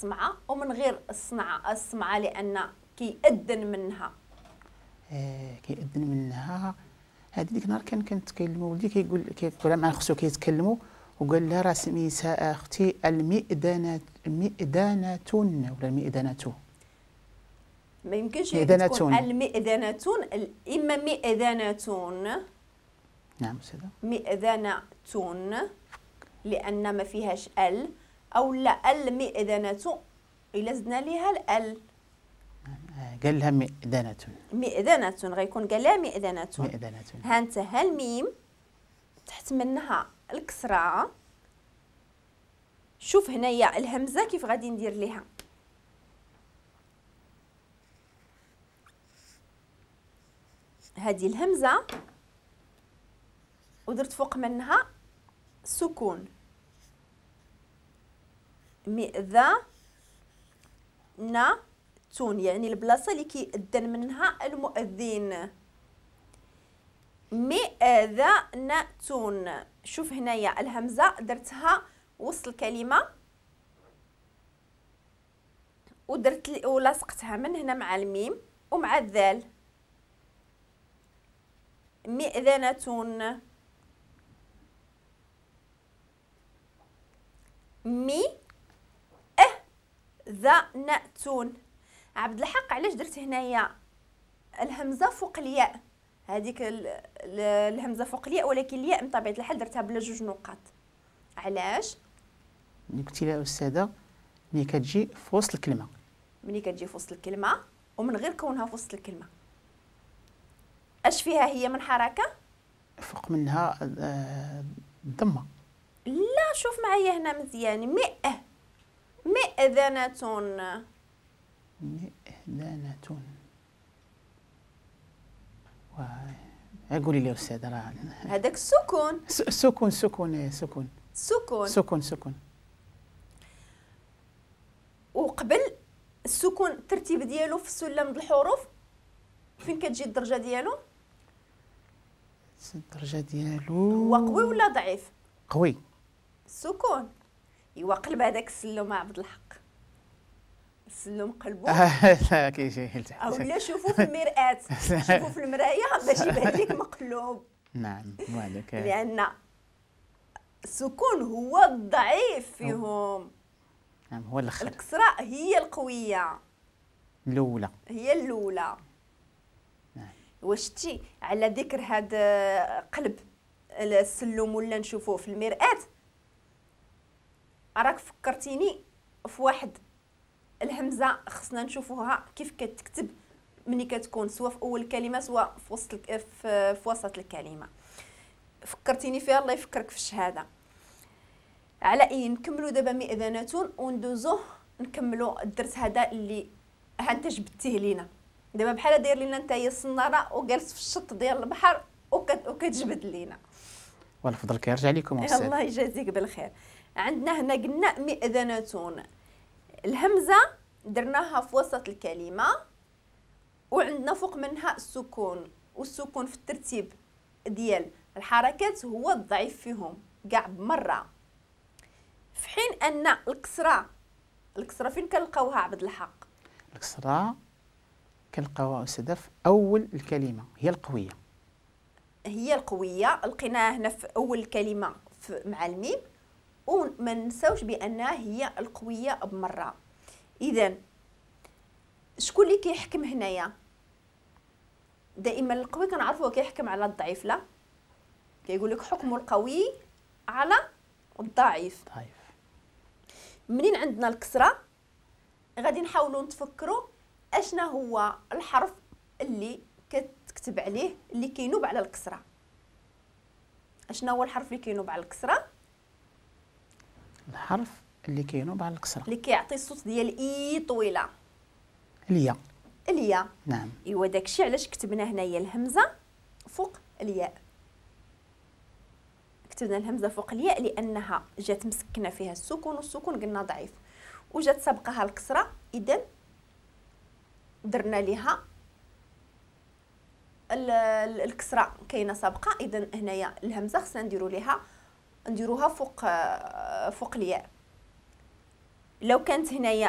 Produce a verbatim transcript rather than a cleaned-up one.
الصمعه، ومن غير الصنعة الصمعه لان كيأذن منها. آه كيأذن منها. هذه ديك النهار كان كنتكلموا ولدي كيقول كيقول مع خصو كيتكلموا وقال لها راه سميتها اختي المئذنه، المئذنه ولا المئذنه؟ ما يمكنش تكون المئذنة، اما مئذنة. نعم أستاذة، مئذنة لأن ما فيهاش ال، أو لا المئذنة إلا زدنا ليها ال. قال لها مئذنة، مئذنة غيكون قال لها مئذنة. مئذنة. ها انت ها الميم تحت منها الكسرة. شوف هنايا الهمزة كيف غادي ندير ليها. هذه الهمزة ودرت فوق منها سكون، مئذنة، يعني البلاصة اللي كيأذن منها المؤذن. مئذنة. شوف هنايا الهمزة درتها وسط الكلمة ودرت ولاصقتها من هنا مع الميم ومع الذال. مئذنة، مي اه ذا ناتون. عبد الحق علاش درت هنايا الهمزة فوق الياء؟ هذيك الهمزة فوق الياء، ولكن الياء بطبيعة الحال درتها بلا جوج نقاط. علاش؟ ملي قلتي لها استاذه ملي كتجي في وسط الكلمة، ملي كتجي في وسط الكلمة ومن غير كونها في وسط الكلمة اش فيها هي من حركة؟ فوق منها الضمة. لا شوف معايا هنا مزيان، مئة مئذنة، مئذنة. قولي لي استاذه راه هذاك السكون، سكون سكون سكون سكون سكون سكون. وقبل السكون الترتيب ديالو في السلم د الحروف فين كتجي الدرجة ديالو؟ الدرجة ديالو هو قوي ولا ضعيف؟ قوي السكون. ايوا قلب هذاك السلم عبد الحق، السلم قلبو كيجي لتحت. اولا شوفوا في المرآة، شوفوا في المراية باش يبان لك مقلوب. نعم وهذاك لان السكون هو الضعيف فيهم. نعم هو الاخر. الكسرة هي القوية الاولى، هي الاولى. نعم. واش تي على ذكر هذا قلب السلم ولا نشوفوه في المرآة، راك فكرتيني في واحد الهمزة خصنا نشوفوها كيف كتكتب ملي كتكون سواء في اول كلمة سواء في وسط في وسط الكلمة. فكرتيني فيها، الله يفكرك في الشهادة. على اي نكملوا دابا مئذنة وندوزو نكملوا الدرس هذا اللي ها انت جبتيه لينا دابا، بحال داير لينا انت هي الصناره وجالس في الشط ديال البحر وكتجبد لينا. والفضل كيرجع لكم استاذ. الله يجازيك بالخير. عندنا هنا قلنا مئذنة، الهمزة درناها في وسط الكلمة وعندنا فوق منها السكون، والسكون في الترتيب ديال الحركات هو الضعيف فيهم كاع بمرة. في حين ان الكسرة، الكسرة فين كنلقاوها عبد الحق؟ الكسرة كنلقاوها استاذه في اول الكلمة، هي القوية. هي القوية لقيناها هنا في اول الكلمة مع الميم، وما ننساوش بانها هي القوية بمرة. اذا شكون اللي كيحكم هنايا؟ دائما القوي كنعرفوه كيحكم على الضعيف، لا كيقول لك حكم القوي على الضعيف. ضعيف. منين عندنا الكسرة غادي نحاولوا نتفكروا اشنا هو الحرف اللي كتكتب عليه اللي كينوب على الكسرة. اشنا هو الحرف اللي كينوب على الكسرة؟ الحرف اللي كينوب على الكسرة اللي كيعطي الصوت ديال اي طويلة، الياء. الياء نعم. ايوا داكشي علاش كتبنا هنايا الهمزة فوق الياء. كتبنا الهمزة فوق الياء لانها جات مسكنه فيها السكون، والسكون قلنا ضعيف، وجات سابقها الكسرة، اذا درنا ليها الكسرة كاينه سابقه، اذا هنايا الهمزة خصنا نديرو ليها نديروها فوق فوق الياء. لو كانت هنايا